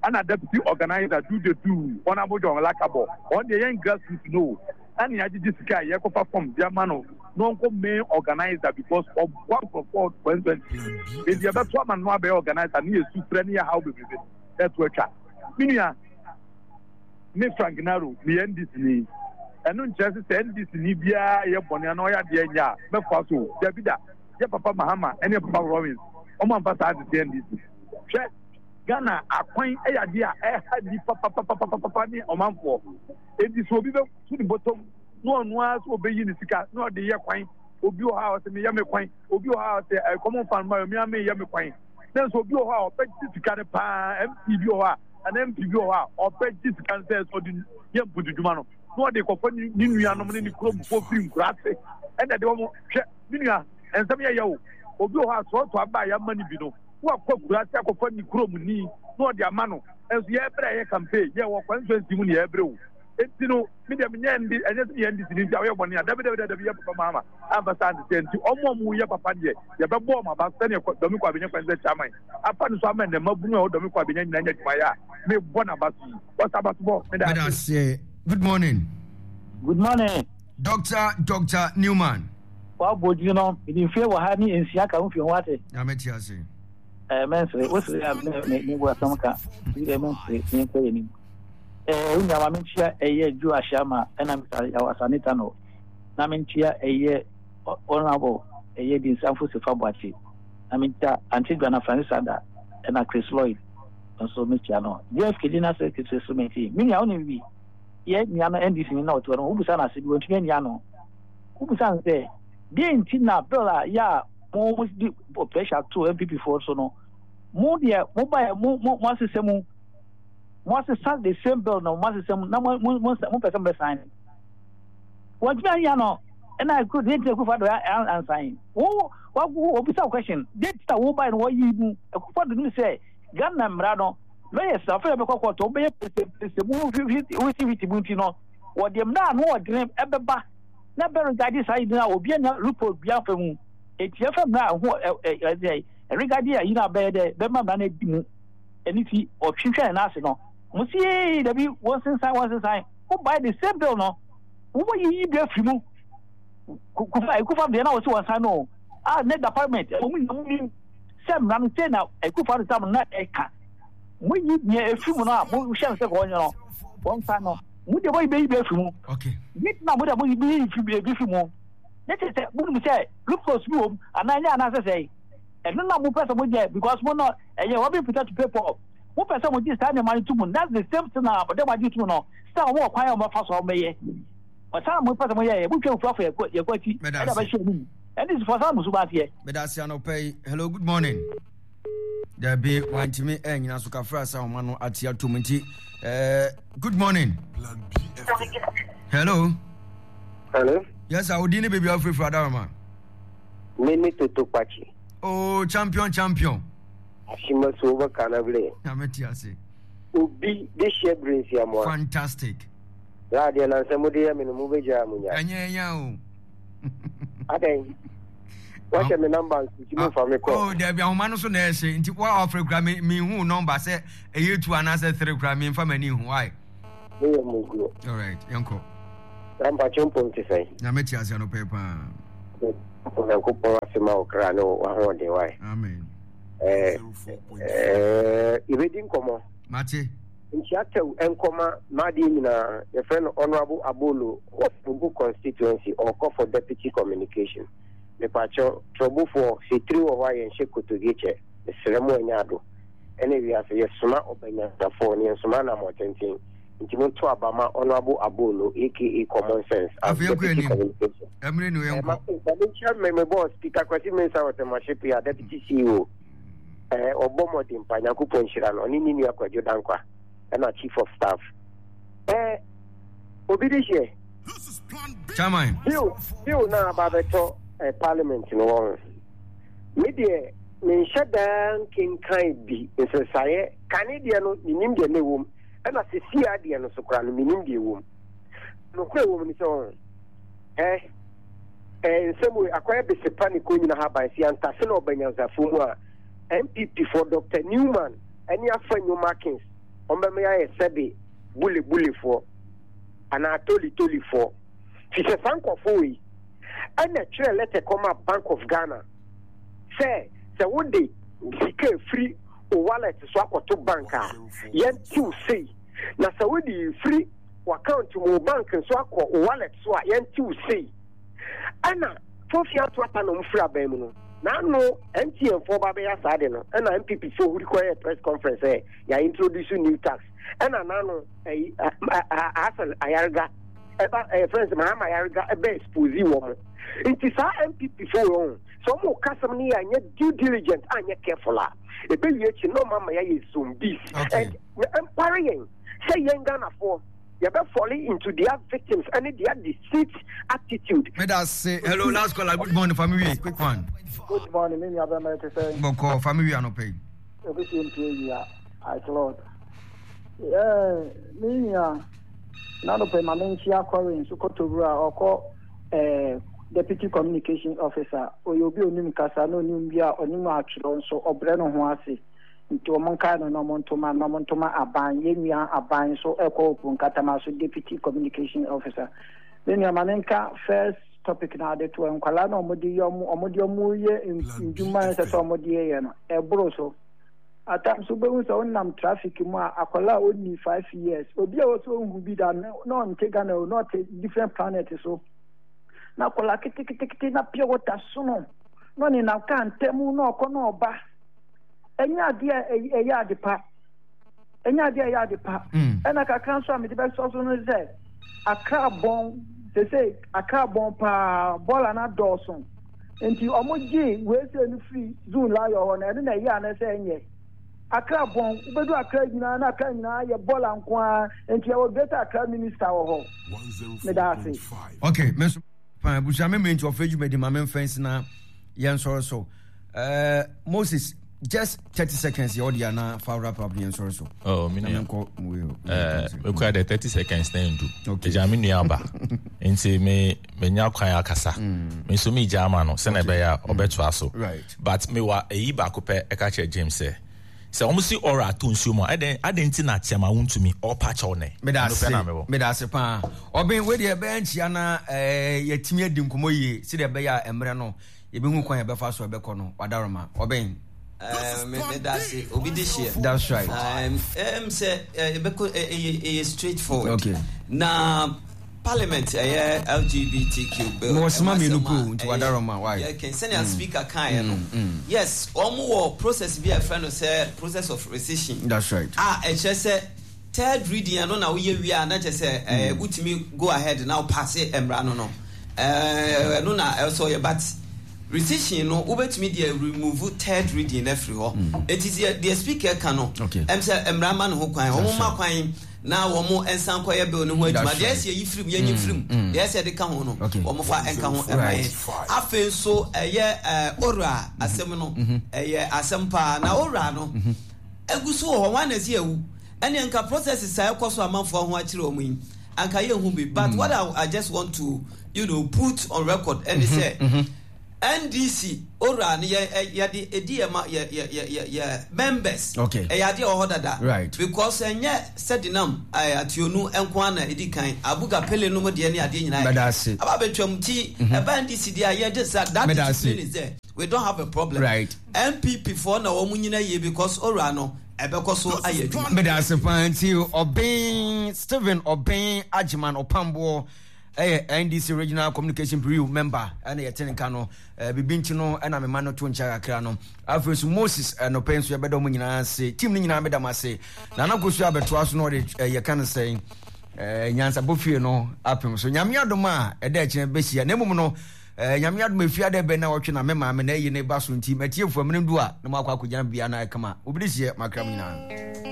Ɛna deputy organizer do the do Honourable John Lakabɔ ɔno deɛ yɛn grassroots no ɛna yɛagyegye sika a yɛkɔfa fam de ama no na ɔnkɔ main organizer because ɔboa nkurɔfoɔ 2020 nti yɛbɛto ama no abɛyɛ organizer ne yɛsu frɛ ne yɛhaw bebrebe ɛto atwa me nua me Frank Naro meyɛ NDC ni ɛno nkyerɛ sɛ sɛ NDC ni biara yɛ bɔne anaa ɔyɛ adeɛ nyɛ a mɛfoa so dabi da yɛ papa Mahama ɛne yɛ papa Rawlings ɔmo amfa saa ade NDC hwɛ Ghana akwan yɛ adeɛ a ɛha nnipa papapapapapa ne ɔmanfoɔ. Enti sɛ obi bɛto ne bɔtɔm na ɔno ara sɛ ɔbɛyi ne sika na ɔde yɛ kwan, obi wɔ hɔ a ɔsɛ meyɛ me kwan, obi wɔ hɔ a ɔsɛ ɛkɔm mfa no ma me a meyɛ me kwan. Na nso obi wɔ hɔ a ɔbɛgye sika no paa, MP bi wɔ hɔ a anaa MP bi wɔ hɔ a ɔbɛgye sika no sɛ ɔde yɛ mpuntudwuma no na ɔde kɔfa ne nuanom ne ne kuromfoɔ firi nkuraase ɛna ɛde wɔn hwɛ me nua nsɛm yɛ yɛ o obi wɔ hɔ a sɔɔtɔ aba a yɛama no bi no wakɔ akuraase akɔfa ne kurom ni na ɔde ama no nso yɛbrɛ yɛ campaign yɛ wɔ constituency mu na yɛbrɛ o enti no me deɛ menyɛ ndi ɛnyɛ sɛ meyɛ ndc ni nti a woyɛ bɔne a dabi dabi dabi yɛ papa maama amfa saa nte sɛ nti ɔmo a ɔmo yɛ papa deɛ yɛbɛbɔ ɔmo aba sɛdeɛ dɔme kɔ abɛnya kwan sɛ chairman afa no so ama nnɛ mabunu a ɛwɔ dɔme kɔ abɛnya nyinaa nyɛ adwuma yɛ a mebɔ n'aba so yi wɔsa aba so bɔ meda ase. Good morning. Good morning. Doctor Doctor Newman. Wabɔ din no, mede mfie wɔ ha ne nsia ka ho fie ho ate. Nyame te ase. Ɛɛ mɛnsere, wosere a me me me bu asɛm ka. Bi dɛ mɛnsere, me nkɔ yɛ nim. Ɛɛ wo nua ma menkyia ɛyɛ Joe Ahyama ɛna Mr. Yaw Asane Tano. Na menkyia ɛyɛ Honorable ɛyɛ Dinsanfo Sefa Boakye. Na menkyia Auntie Joanna Francis Ada ɛna Chris Lloyd nso mekyia no. JFK General Secretary so meti. Me nua wonim bi. Yɛ nua no NDC ni na ɔte hɔ no, wobisa no ase bi wɔntumi anyi ano. Wobisa no sɛ, deɛ nti na bill a yɛ a mo mo di pressure to NPP foɔ so no, mo deɛ mo baeɛ mo mo mo asesa mu, mo asesa the same bill no mo asesa mu na mo mo mo mo pɛ sɛ mo bɛ sign. Wɔntumi anyi ano ɛna ɛkuro deɛ nti na Akufo Addo ansan. Wo wo obisa wo question deɛ nti na wo baeɛ no wɔyi mu Akufo Addo nim sɛ Ghana mmara no lawyers afei bɛkɔ court wɔbɛyɛ pɛsɛpɛsɛ mu hwiti mu nti no wɔde mmara ano ɔdene ɛbɛba na bɛ regard saa yi na obi anya loophole bi afa mu eti ɛfɛ mmara ho ɛ ɛ ɛ regard ayi na bɛyɛ dɛ bɛma mmara no adi mu ɛne ti ɔtwentwɛn n'ase no mo si ee dabi wɔn sensan wɔn sensan wo buy the same bill no wɔn yiyi bi afiri mu kufa ekufa deɛ na wɔsi wɔn san no a ne department wɔn nyinaa mo nim sɛ mmara no sɛ na ekufa no sam na ɛka mo yi deɛ efiri mu no a mo hyɛ no sɛ wɔn nyɛ no wɔn san no mo deɛ mo yi bɛyi bi afiri mu ne na mo deɛ mo yi bɛyi ebi firi mu ne kyerɛ sɛ mo nim sɛ loopholes bi wɔ mu anaa nyɛ anaasɛ sɛ ɛno na mo pɛ sɛ mo yɛ because mo no ɛyɛ wɔn bi to pay for mo pɛ sɛ mo gye saa nneɛma no to mu that's the same thing na ɔde mo agye to mu no sɛ wɔn wɔ kwan a wɔn bɛfa so a wɔn bɛyɛ ɔsan mo pɛ sɛ mo yɛ yɛ mo twɛ fufu afɔ yɛ kɔ yɛ kɔ akyi ɛna bɛhyɛ mu ɛne sifɔ san mo so ba aseɛ. Meda ase anɔpa yi hello good morning. Dabi wantumi ɛnyina so kafra sa ɔma no ate atom nti eh, good morning. Hello. Hello. Yes, sir. Odi ne baby afrefra adarama. Me ne Toto Kpachi. Oh, champion champion. Ashima so over Kanable. Nyame te ase. Obi de hyɛ bere nsiamoa. Fantastic. Laadeɛ na nsɛm mo de yɛ me no mo bɛgyaa mo nya. Ɛnyɛ ɛnya o. Adɛn? Wahyɛ me number nso nti momfa me kɔ. Oh, dabi ahoma no so na ɛhyɛ nti wa ɔfrɛ kura me me hu number sɛ ɛyɛ two anaasɛ three kura me nfa m'ani hu why. Me yɛ muguo. All right, yɛnkɔ. Na mpakyɛ mpom te sɛn? Nyame te ase anɔpɛ paa. Onyankopɔn ase ma wo kra ne w'ahoɔden wae. Amen. Eh, eh, yɛbɛdi nkɔmmɔ. Mate. Nkyia tɛw nkɔma m'adeɛ nyinaa yɛfrɛ no Honourable Abolo wɔ Trobu constituency ɔɔkɔ for deputy communication. Mepakyɛw Trobufoɔ sɛ tiri wɔ hɔ a yɛnhyɛ kotodwe kyɛ mesrɛ mo ɛnyɛ ado ɛne wiase yɛsoma ɔbanyansafoɔ na yɛnsoma anamɔtenten nti monto aba ma Honourable Abolo aka Common Sense as Afei yɛnkɔ deputy anim. communication. Ɛmere no Eh, yɛnkɔ. ma ma menkyia me me boss Peter Kwasi Mensah wɔ Tɛmahye Pia deputy CEO. Eh, ɔbɔ mmɔden pa, Nyankopɔn nhyira no, ɔne ne nua Kwadwo Dankwa, ɛna Chief of Staff. Eh, obi de hyeɛ. Chairman. Bill, bill na aba abɛtɔ eh, parliament no wɔ ho. Me deɛ, menhyɛ daa nkenkan bi nsesaeɛ, kane deɛ no, menim deɛ na ɛwɔ mu, ɛna sesia deɛ no so koraa no, menim deɛ ɛwɔ mu. Nokorɛ ɛwɔ mu ne sɛ, ɔho, eh, Eh nsɛm wei akɔyɛ besepa ne konyina haban si antase na ɔba nyansafoɔ mu a NPP foɔ Doctor Newman ɛne Afa Nyo Markins wɔn bɛma yɛayɛ sɛbe bule bule foɔ anaa toli toli foɔ fi sɛ saa nkurɔfoɔ wei ɛna twerɛ lɛtɛ kɔma Bank of Ghana sɛ sɛ wode sika efiri o wallet so akɔto bank a yɛntew sei na sɛ wode efiri w'account mu wo bank nso akɔ wo wallet so a yɛntew sei ɛna fofi ato ata na ɔmo firi aban mu no n'ano MTN foɔ ba bɛyɛ saa de no ɛna MPP foɔ huri kɔyɛ press conference sɛ yɛ introduce new tax ɛna n'ano ɛyi Hassan Ayariga ɛba ɛyɛ friends Mahama Ayariga ɛbɛ expose wɔn nti saa MPP foɔ wɔn sɛ ɔmo kasɛm no yɛ anyɛ due diligent anyɛ careful a ɛbɛwie akyi na ɔmo ama yɛayɛ zombies and ɛmpare yɛn sɛ yɛn Ghanafoɔ yɛbɛ fall into their victims ɛne their deceit attitude. Meda se hello last caller good morning family quick one. Good morning me nua bɛma ɛte sɛ. Bɔkɔ family anɔpɛ yi. Ebi si mpie wia I Lord. Ɛɛ me nua n'anɔpɛ ma me nhyia Corinne so kɔtɔwura ɔkɔ ɛɛ deputy communication officer ɔyɛ obi onim kasa na onim bi a onim atwerɛ nso ɔbrɛ ne ho ase. Nti wɔn nkae no na wɔn ntoma na wɔn ntoma aban yɛn nua aban nso ɛkɔ Opo Nkatama so deputy communication officer. Me nua ma me nka first topic na ade to nkwadaa na wɔn de yɛ wɔn wɔn de wɔn yɛ ndwuma ɛsɛ sɛ wɔn de yɛ no ɛboro so. At times wobɛhu sɛ wonam traffic mu a akwadaa a ɔnni 5 years obi a wɔsɛ ɔnhu bi da na ɔnte Ghana o na ɔte different planet so na akwadaa ketekete na pure water sono na ɔnenam kaa ntam na ɔkɔ na ɔba. Ɛnyɛ adeɛ a ɛyɛ ade pa. Ɛnyɛ adeɛ a ɛyɛ ade pa. Ɛna kakra nso a mede bɛsɔ so no sɛ Accra bɔn sese Accra bɔn paa bɔɔla no adɔɔso nti wɔn gye weesei no firi Zoom layɔ hɔ no ɛno na ɛyɛ anaa sɛ ɛnyɛ. Accra bɔn wobɛdu Accra nyinaa na Accra nyinaa yɛ bɔɔla nko ara nti yɛwɔ Greater Accra minister wɔ hɔ. Meda ase. Okay, me nso paa abusua me mmiri nti ɔfɛ dwumadi ma me mfa nsi na yɛn sɔre so. Uh, Moses, just 30 seconds yɛ ɔde ana fa wrap up yɛn sɔre so. Oh, me nua. Nkɔ mu yi. Eh, me kura de 30 seconds na ndu. Okay. Eja me nua aba. Nti me me nya kwan akasa. Me nso me gya ama no sɛ na ɛbɛyɛ a ɔbɛtoa so. Right. But me wa eyi baako pɛ ɛka kyerɛ James sɛ sɛ wɔn si ɔrɔ ato nsuo mu a ɛdɛn adɛn nti na kyɛma wontumi ɔpa kyɛw nɛ. Meda Ɛno ase. pɛ na mewɔ. Meda ase paa. Ɔben wei deɛ ɛbɛyɛ nkyia na ɛɛ yɛtumi adi nkɔmɔ yie sɛdeɛ ɛbɛyɛ a mmerɛ no yɛbɛhu kwan yɛbɛfa so ɛbɛkɔ no wadaroma ɔbɛn. Eh, me me da ase obi de hyeɛ. That's right. Um, um, sɛ ɛbɛkɔ ɛyɛ ɛyɛ straight forward. Okay. Na parliament ɛyɛ LGBTQ bill. Mo sima mmienu po nti wadaroma why? Yɛ kɛn sɛnea speaker kan yɛ no. Yes, wɔn wɔ process bi a ɛfrɛ no sɛ process of rescission. That's right. A ɛkyerɛ sɛ third reading ɛno na woyɛ wie a na kyerɛ sɛ ɛɛ wotumi go ahead na wopaase mmara no no ɛɛ ɛno na ɛsɔ yɛ but rescission no wobɛtumi deɛ remove third reading no afiri hɔ eti deɛ deɛ speaker ka no ɛm sɛ mmara ma ne ho kwan wɔn ma kwan na wɔn nsan kɔyɛ bill no ho adwuma deɛ ɛsɛ yɛyi firim yɛnyi firim deɛ ɛsɛ yɛde ka ho no wɔn fa nka ho ɛma yɛn afei nso ɛyɛ ɛɛ ora asɛm no ɛyɛ asɛm paa na ora no egu so wɔ hɔ wɔn na ɛsi ewu. Ɛneɛ nka processes a ɛkɔ so amanfoɔ ho akyerɛ wɔn yi anka yɛnhu bi but what I, I just want to you know put on record ɛne sɛ. NDC owura no yɛ yɛde edi yɛ ma yɛ yɛ yɛ yɛ yɛ members. Okay. Ɛyɛ adeɛ wɔ hɔ dada. Right. Because ɛnyɛ Sedinam ɛɛ Ationu nko ara na edi kan. Abuga Pele nom deɛ ne adeɛ nyinaa. Mɛda ase. Aba abɛtwam ti ɛba NDC deɛ a yɛde sa that discipline is there. We don't have a problem. Right. NPP foɔ na wɔn nyina yie because owura no ɛbɛkɔ so ayɛ adwuma. Meda ase paa nti Ɔben Stephen Ɔben Agyeman Ɔpamboɔ ɛyɛ NDC Regional Communication Bureau member ɛna yɛte ne nka no bibi nti no ɛna mema no to nkyɛn kakra no. Afei nso Moses ɛnɔpɛ nso yɛbɛda wɔn nyinaa ase, team no nyinaa meda mo ase. Nana Kosu abɛtoa so na ɔde yɛka no sɛn nyansabɔ fie no apem so. Nyame adom a ɛda akyinɛ bɛhyia na mmom no Nyame adom efia dɛ bɛn na ɔtwe na me maame na ayi ne ba so nti matiefo amene du a na moakɔ akɔgyina bia na ɛkama obi de hyeɛ makra mu nyinaa.